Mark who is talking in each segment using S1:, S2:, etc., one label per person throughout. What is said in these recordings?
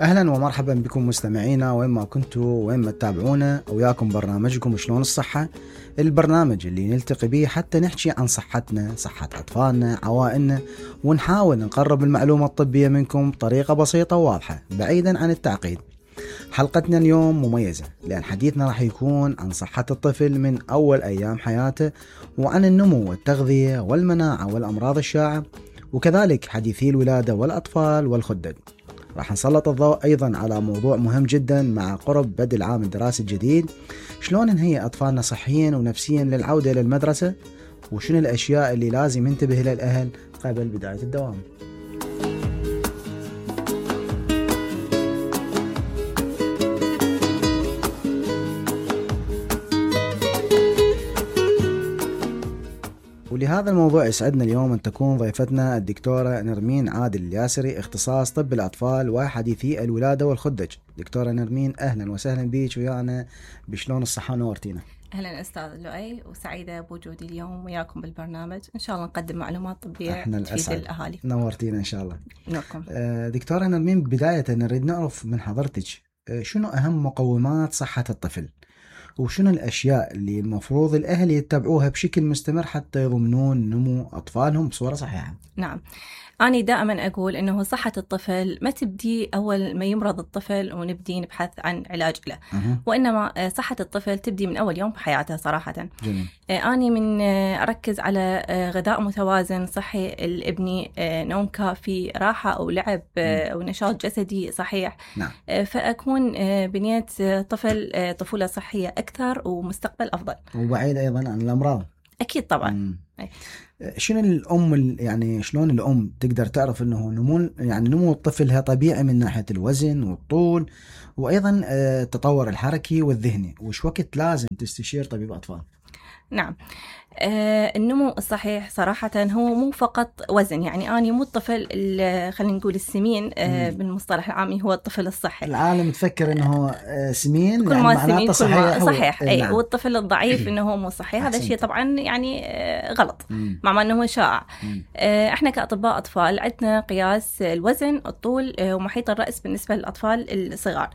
S1: أهلا ومرحبا بكم مستمعينا وين ما كنتوا وين ما تتابعونا، وياكم برنامجكم شلون الصحة، البرنامج اللي نلتقي به حتى نحكي عن صحتنا، صحة أطفالنا، عوائلنا، ونحاول نقرب المعلومة الطبية منكم بطريقة بسيطة وواضحة بعيدا عن التعقيد. حلقتنا اليوم مميزة لأن حديثنا راح يكون عن صحة الطفل من أول أيام حياته، وعن النمو والتغذية والمناعة والأمراض الشائعة، وكذلك حديثي الولادة والأطفال والخدد. راح نسلط الضوء أيضا على موضوع مهم جدا مع قرب بدء العام الدراسي الجديد، شلون نهيئ أطفالنا صحيا ونفسيا للعودة إلى المدرسة، وشنو الأشياء اللي لازم ينتبه لها الأهل قبل بداية الدوام. ولهذا الموضوع يسعدنا اليوم أن تكون ضيفتنا الدكتورة نرمين عادل الياسري، اختصاص طب الأطفال وحديثي الولادة والخدج. دكتورة نرمين، أهلا وسهلا بيك ويانا بشلون الصحة، نورتينا.
S2: أهلا أستاذ لؤي، وسعيدة بوجودي اليوم وياكم بالبرنامج. إن شاء الله نقدم معلومات طبية تفيد الأهالي.
S1: نورتينا إن شاء الله.
S2: نوركم.
S1: دكتورة نرمين، بداية نريد نعرف من حضرتك شنو أهم مقومات صحة الطفل، وشنو الأشياء اللي المفروض الأهل يتبعوها بشكل مستمر حتى يضمنون نمو أطفالهم بصورة صحيحة؟
S2: نعم، أنا دائما أقول أنه صحة الطفل ما تبدي أول ما يمرض الطفل ونبدي نبحث عن علاج له، وإنما صحة الطفل تبدي من أول يوم بحياته صراحة.
S1: جميل.
S2: أنا من أركز على غذاء متوازن صحي لابني، نوم كافي، راحة أو لعب أو نشاط جسدي صحيح.
S1: نعم.
S2: فأكون بنية طفولة صحية أكثر ومستقبل أفضل،
S1: وبعيد أيضا عن الأمراض.
S2: أكيد طبعا.
S1: شنو الأم يعني شلون الأم تقدر تعرف أنه نمو الطفل طبيعي من ناحية الوزن والطول، وأيضا التطور الحركي والذهني، وش وقت لازم تستشير طبيب أطفال؟
S2: نعم، النمو الصحيح صراحة هو مو فقط وزن، يعني أنا مو الطفل خلينا نقول السمين، بالمصطلح العامي هو الطفل الصحي.
S1: العالم تفكر إنه سمين
S2: كل ما سمين كل ما
S1: صحيح.
S2: أي
S1: نعم.
S2: والطفل الضعيف إنه هو مو صحي، هذا الشيء طبعا يعني غلط، مع أنه هو شائع. إحنا كأطباء أطفال عندنا قياس الوزن، الطول، ومحيط الرأس بالنسبة للأطفال الصغار،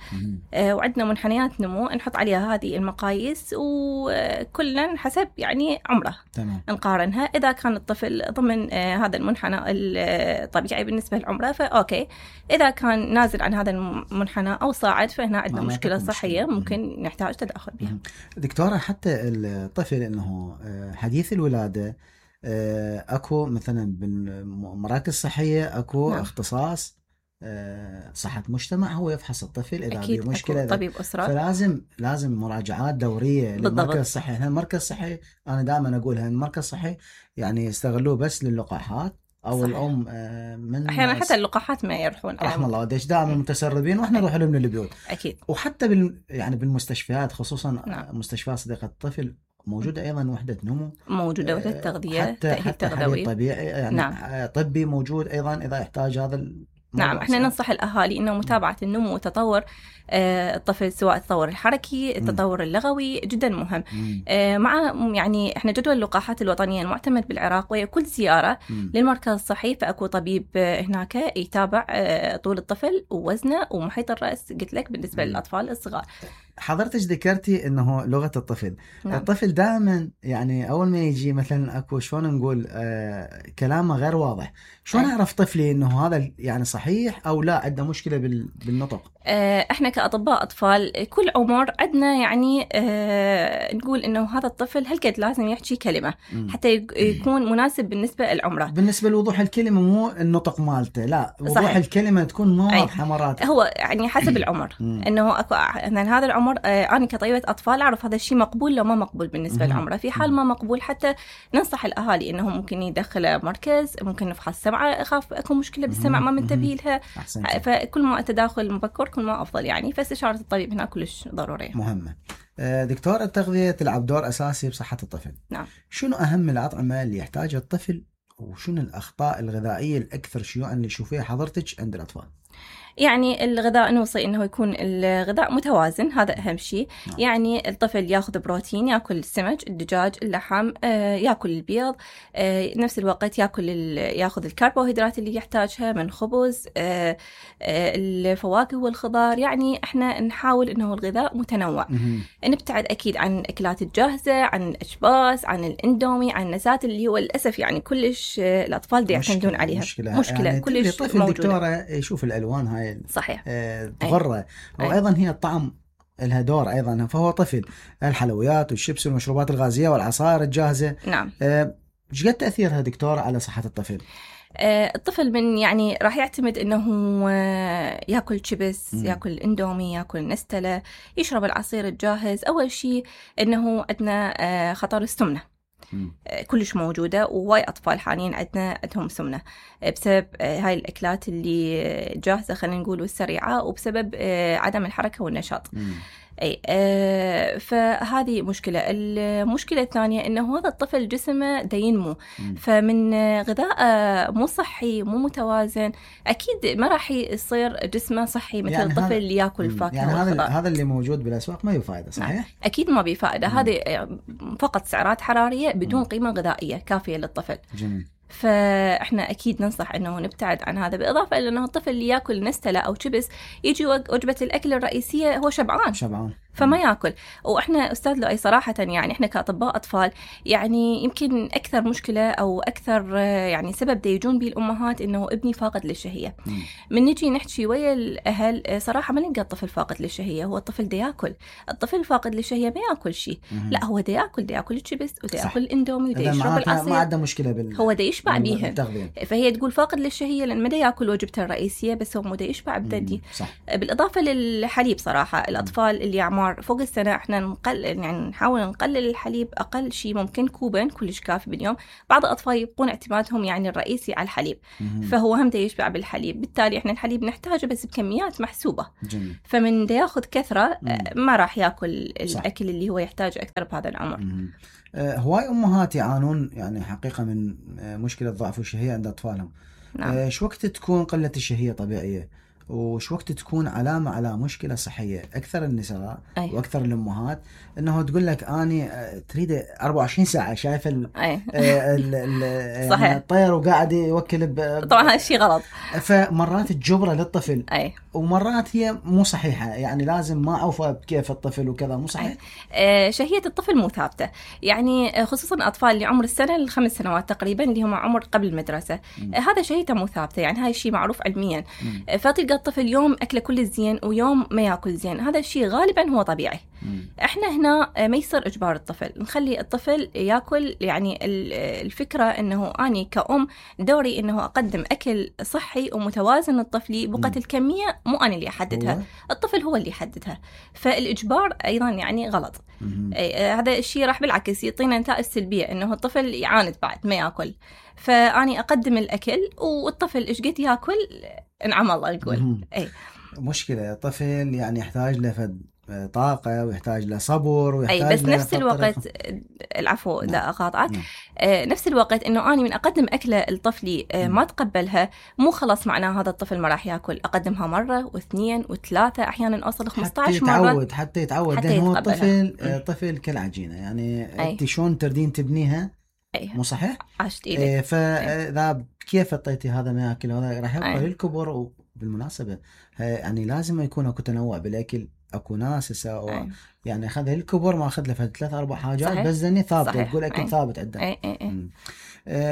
S2: وعندنا منحنيات نمو نحط عليها هذه المقاييس، وكلنا حسب يعني عمره.
S1: تمام.
S2: نقارنها، إذا كان الطفل ضمن هذا المنحنى الطبيعي بالنسبة لعمره فأوكي، إذا كان نازل عن هذا المنحنى أو صاعد فهنا عندنا مشكلة صحية ممكن نحتاج تدخل بها.
S1: دكتورة، حتى الطفل إنه حديث الولادة أكو مثلا بالمراكز الصحية أكو
S2: نعم.
S1: اختصاص صحة مجتمع هو يفحص الطفل إذا في مشكلة،
S2: طبيب أسرة،
S1: فلازم مراجعات دورية للمركز الصحي. المركز الصحي أنا دائما أقولها، المركز الصحي يعني يستغلوه بس للقاحات أو صحيح. الأم من
S2: أحيانا حتى اللقاحات ما يروحون،
S1: رحم الله وديش دائما متسربين، وإحنا نروح لهم للبيوت.
S2: أكيد.
S1: وحتى يعني بالمستشفيات، خصوصا
S2: نعم.
S1: مستشفيات صديقة الطفل موجودة أيضا وحدة نمو،
S2: موجودة وحدة تغذية،
S1: حتى حليب طبيعي يعني. نعم. طبي موجود أيضا إذا يحتاج هذا.
S2: نعم، احنا ننصح الأهالي إنه متابعة النمو وتطور الطفل، سواء التطور الحركي، التطور اللغوي، جدا مهم. مع يعني احنا جدول اللقاحات الوطنية المعتمد بالعراق، وكل زيارة للمركز الصحي فأكو طبيب هناك يتابع طول الطفل ووزنه ومحيط الرأس، قلت لك بالنسبة للأطفال الصغار.
S1: حضرتك ذكرتي انه لغة الطفل. نعم. الطفل دائما يعني اول ما يجي مثلا اكو شلون نقول كلامه غير واضح، شلون اعرف طفلي انه هذا يعني صحيح او لا عنده مشكلة بالنطق؟
S2: احنا كأطباء اطفال كل عمر عندنا يعني نقول انه هذا الطفل هالقد لازم يحكي كلمة حتى يكون مناسب بالنسبة لعمره.
S1: بالنسبة لوضوح الكلمة مو النطق مالته، لا وضوح صحيح. الكلمة تكون واضحة مرات.
S2: هو يعني حسب العمر انه اكو هذا العمر انا كطبيبة اطفال اعرف هذا الشيء مقبول لو ما مقبول بالنسبة لعمره. في حال ما مقبول حتى ننصح الاهالي انهم ممكن يدخله مركز، ممكن نفحص سمعه، اخاف اكو مشكلة بالسمع ما منتبه لها. فكل ما التداخل مبكر كل ما افضل يعني، فاستشارة الطبيب هنا كلش ضرورية مهمة.
S1: دكتور، التغذية تلعب دور اساسي بصحة الطفل.
S2: نعم.
S1: شنو اهم الأطعمة اللي يحتاجها الطفل وشنو الأخطاء الغذائية الأكثر شيوعا اللي تشوفيها حضرتك عند الأطفال؟
S2: يعني الغذاء نوصي انه يكون الغذاء متوازن، هذا اهم شيء. يعني الطفل ياخذ بروتين، ياكل السمك، الدجاج، اللحم، ياكل البيض، نفس الوقت ياخذ الكربوهيدرات اللي يحتاجها من خبز، الفواكه والخضار. يعني احنا نحاول انه الغذاء متنوع. نبتعد اكيد عن الاكلات الجاهزه، عن الاشباس، عن الاندومي، عن النسات اللي هو للاسف يعني كلش الاطفال يعتمدون عليها. مشكله يعني
S1: كلش طفل موجوده. دكتوره يشوف الالوان هاي
S2: صحيح
S1: تغره، وايضا هي الطعم لها دور ايضا، فهو طفل الحلويات والشيبس والمشروبات الغازيه والعصائر الجاهزه.
S2: نعم.
S1: ايش قد تاثيرها دكتوره على صحه الطفل؟
S2: الطفل من يعني راح يعتمد انه ياكل شيبس، ياكل اندومي، ياكل نستله، يشرب العصير الجاهز. اول شيء انه عندنا خطر السمنه كلش موجودة، وواي أطفال حاليا عندهم سمنة بسبب هاي الأكلات اللي جاهزة خلينا نقول والسريعة، وبسبب عدم الحركة والنشاط. فهذه مشكلة. المشكلة الثانية إنه هذا الطفل جسمه دا ينمو، فمن غذاء مو صحي مو متوازن أكيد ما راح يصير جسمه صحي مثل يعني الطفل اللي يأكل فاكهة.
S1: يعني هذا اللي موجود بالأسواق ما بفائدة، صحيح؟
S2: أكيد ما بفائدة. هذه فقط سعرات حرارية بدون قيمة غذائية كافية للطفل.
S1: جميل.
S2: فاحنا اكيد ننصح انه نبتعد عن هذا، بالاضافه الى انه الطفل اللي ياكل نستله او شيبس يجي وجبه الاكل الرئيسيه هو شبعان فما ياكل. واحنا استاذ لؤي صراحه يعني احنا كاطباء اطفال يعني يمكن اكثر مشكله او اكثر يعني سبب يجون به الامهات انه ابني فاقد للشهيه. من نجي نحكي ويا الاهل صراحه ما نلقى الطفل فاقد للشهيه، هو الطفل دا ياكل. الطفل فاقد للشهيه ما ياكل شيء، لا هو دا ياكل الشيبس ودا ياكل الاندومي ودا يشرب العصير،
S1: ما عنده مشكله
S2: هو دا يشبع بيهم. فهي تقول فاقد للشهيه لان ما دا ياكل وجبته الرئيسيه، بس هو دا يشبع بددي. بالاضافه للحليب صراحه الاطفال اللي اعمار فوق السنه احنا نحاول نقلل الحليب، اقل شيء ممكن كوبين كلش كافي باليوم. بعض الاطفال يبقون اعتمادهم يعني الرئيسي على الحليب، فهو هم دا يشبع بالحليب، بالتالي احنا الحليب نحتاجه بس بكميات محسوبه.
S1: جميل.
S2: فمن دا ياخذ كثره ما راح ياكل الاكل اللي هو يحتاجه اكثر بهذا العمر.
S1: هواي امهات يعانون يعني حقيقه من مشكله ضعف الشهيه عند اطفالهم.
S2: نعم.
S1: شو وقت تكون قله الشهيه طبيعيه، وش وقت تكون علامة على مشكلة صحية؟ أكثر النساء وأكثر الأمهات أنه تقول لك أني تريد 24 ساعة شايفة يعني الطير وقاعد يوكل
S2: طبعا هذا الشيء غلط.
S1: فمرات الجبرة للطفل ومرات هي مو صحيحة، يعني لازم ما أوفى بكيف الطفل وكذا، مو صحيح.
S2: شهية الطفل مو ثابتة، يعني خصوصا أطفال اللي عمر السنة ل5 سنوات تقريبا اللي هم عمر قبل المدرسة، هذا شهيته مو ثابتة، يعني هاي الشيء معروف علميا. فتلقى الطفل يوم أكله كل زين ويوم ما يأكل زين، هذا الشيء غالبا هو طبيعي. احنا هنا ما يصير إجبار الطفل، نخلي الطفل يأكل. يعني الفكرة أنه أني كأم دوري أنه أقدم أكل صحي ومتوازن للطفل، بقت الكمية مو أنا اللي أحددها، الطفل هو اللي يحددها. فالإجبار أيضا يعني غلط. هذا الشيء راح بالعكس يعطينا نتائج سلبية، أنه الطفل يعاند بعد ما يأكل. فأني أقدم الأكل والطفل إيش قد يأكل نعم الله نقول.
S1: مشكلة الطفل يعني يحتاج له طاقة ويحتاج له صبر ويحتاج
S2: بس نفس الوقت العفو لا أقاطعك. نفس الوقت إنه أنا من أقدم أكلة لطفلي ما تقبلها مو خلاص معناه هذا الطفل ما راح يأكل. أقدمها مرة واثنين وثلاثة أحيانا أوصل 15 مرة
S1: حتى يتعود لأن هو طفل كالعجينة، يعني أنت شلون تردين تبنيها مو صحيح؟
S2: عشت إيدك.
S1: فإذا كيف اعطيتي هذا ما يأكل هذا راح يبقى للكبر. وبالمناسبة يعني لازم يكون اكو تنوع بالاكل، اكو ناس يعني اخذ الكبر ما اخذ له 3-4 حاجات صحيح. بس ذني ثابته تقول اكل ثابت عنده.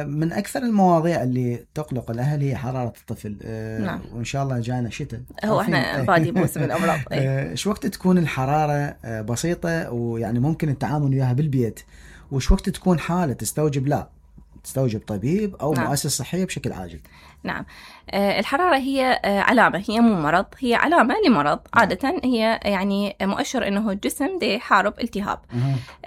S1: من اكثر المواضيع اللي تقلق الاهل هي حراره الطفل.
S2: نعم.
S1: وان شاء الله جانا شتاء
S2: هو احنا بادي موسم الامراض.
S1: شو وقت تكون الحراره بسيطه ويعني ممكن التعامل وياها بالبيت، وش وقت تكون حاله تستوجب طبيب او مؤسسه صحيه بشكل عاجل؟
S2: نعم. الحرارة هي علامة، هي مو مرض، هي علامة لمرض. عادة هي يعني مؤشر إنه الجسم دي يحارب التهاب.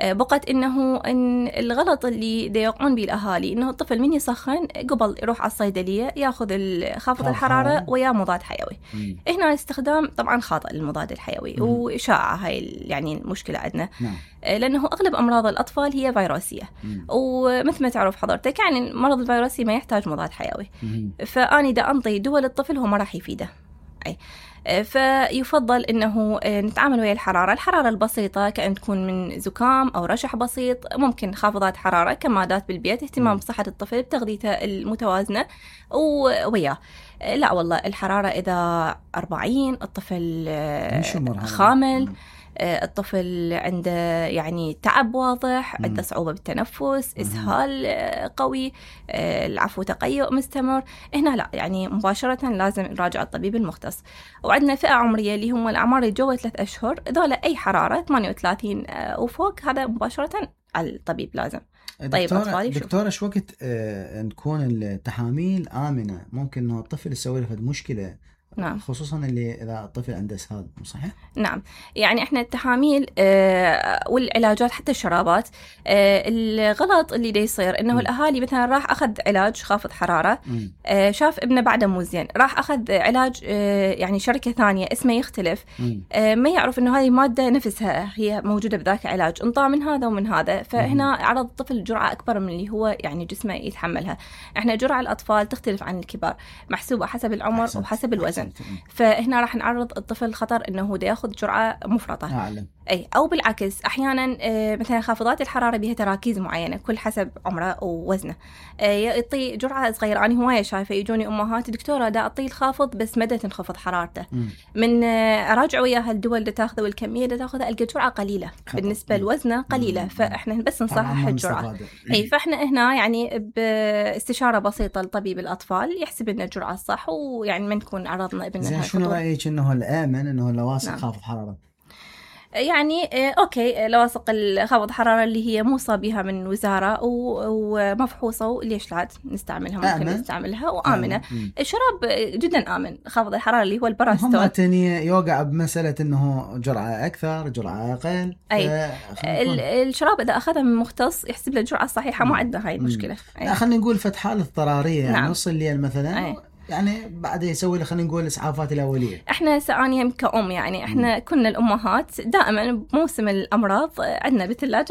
S2: بقت إن الغلط اللي دي يقعون به الأهالي إنه الطفل من يسخن قبل يروح على الصيدلية يأخذ خافض الحرارة ويا مضاد حيوي. هنا استخدام طبعا خاطئ للمضاد الحيوي وشائع هاي يعني المشكلة عندنا. لأنه أغلب أمراض الأطفال هي فيروسية، ومثل ما تعرف حضرتك يعني المرض الفيروسي ما يحتاج مضاد حيوي، فأني دا أنطي دول الطفل هو ما راح يفيده. فيفضل إنه نتعامل ويا الحرارة البسيطة، كأن تكون من زكام أو رشح بسيط، ممكن خافضات حرارة، كمادات بالبيت، اهتمام بصحة الطفل بتغذيته المتوازنة وياه. لا والله الحرارة إذا 40 الطفل خامل، الطفل عنده يعني تعب واضح، عنده صعوبة بالتنفس، إسهال قوي، العفو تقيؤ مستمر، هنا لا يعني مباشرة لازم نراجع الطبيب المختص. وعندنا فئة عمرية اللي هم الأعمار اللي جوا 3 أشهر، ذولا أي حرارة 38 وفوق هذا مباشرة على الطبيب لازم. طيب
S1: دكتورة شو وقت نكون التحاميل آمنة؟ ممكن إنه الطفل يسوي له مشكلة؟
S2: نعم.
S1: خصوصا اللي إذا الطفل عنده إسهال، صحيح؟
S2: نعم. يعني إحنا التحاميل والعلاجات حتى الشرابات، الغلط اللي دا يصير إنه الأهالي مثلا راح أخذ علاج خافض حرارة، شاف ابنه بعده مو زين، راح أخذ علاج يعني شركة ثانية اسمه يختلف، ما يعرف إنه هذه مادة نفسها هي موجودة بذاك العلاج، انطى من هذا ومن هذا، فهنا عرض الطفل جرعة أكبر من اللي هو يعني جسمه يتحملها. إحنا جرعة الأطفال تختلف عن الكبار، محسوبة حسب العمر وحسب الوزن، فهنا راح نعرض الطفل خطر انه هو ياخذ جرعه مفرطه. اي او بالعكس احيانا مثلا خافضات الحراره بها تراكيز معينه كل حسب عمره ووزنه، يعطي جرعه صغيره. انا هوايه شايفه يجوني امهات دكتوره دا اعطيه الخافض بس مدى تنخفض حرارته، من اراجع وياها الدول اللي تاخذه والكميه اللي تاخذها القى جرعه قليله بالنسبه لوزنه قليله، فاحنا بس نصحح الجرعه. اي فاحنا هنا يعني باستشاره بسيطه لطبيب الاطفال يحسب لنا الجرعه الصح، ويعني ما نكون عرضنا ابننا.
S1: زين شنو رايك انه الامن انه لواصق خافض حراره؟
S2: يعني أوكي لواصق الخافض الحرارة اللي هي موصى بها من وزارة ومفحوصة، وليش لا نستعملها؟ ممكن نستعملها وآمنة. الشراب جدا آمن، خافض الحرارة اللي هو البراستون.
S1: هم تاني يوقع بمسألة إنه جرعة أكثر جرعة أقل.
S2: الشراب إذا أخذها من مختص يحسب له الجرعة الصحيحة، ما عندنا هاي المشكلة.
S1: خلينا نقول فتحة اضطرارية يعني نص الليل مثلا. يعني بعد يسوي له خلينا نقول الإسعافات الأولية.
S2: احنا سأنيهم كأم يعني احنا كنا الأمهات دائما بموسم الأمراض عندنا بالثلاجة